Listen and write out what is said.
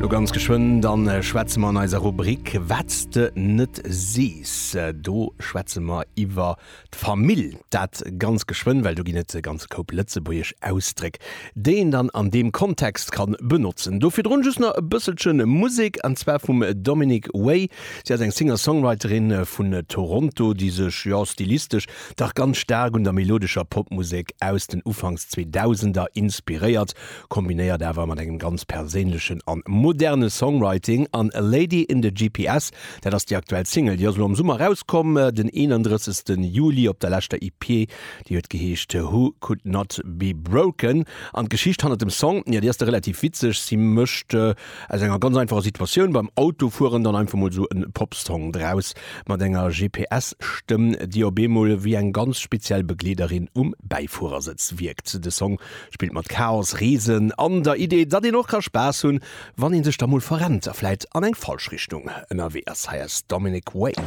Lo ganz geschwënn dann schwätze mer an eiser Rubrik Wat s de net sees. Do schwätze mer iwwer d'Famill. Dat ganz geschwënn, well do ginn et e ganze Koup lëtzebuergesch Ausdréck, déi een dann an deem Kontext kann benotzen. Do virdrun just nach e bësselche Musek, an zwar vum Dominic Way. Si ass eng Singer-Songwriterin vun Toronto, déi sech, jo, stilistesch dach ganz staark un der melodescher Popmusek aus den Ufanks Zweedausender inspiréiert. Kombinéiert awer mat engem ganz perséinlechen an moderne Songwriting an A Lady in the GPS, dat ass déi aktuell Single, déi ass elo am Summer erauskomm, den 31. Juli op der leschter EP, déi huet geheescht Who Could Not Be Broken. An d'Geschicht hannert dem Song, jo déi ass da relativ witzeg, si mécht aus enger ganz einfacher Situatioun beim Autofueren dann einfach mol esou e Popsong draus, mat enger GPS-Stëmm, déi op eemol wéi eng ganz speziell Begleederin um Bäifuerersëtz wierkt. De Song Spillt mat Chaos, Reesen an der Idee, datt een och ka Spaass hunn, wann een sech da mol verrennt a vläit an eng falsch Richtung ënnerwee ass. Hei ass Dominic Way.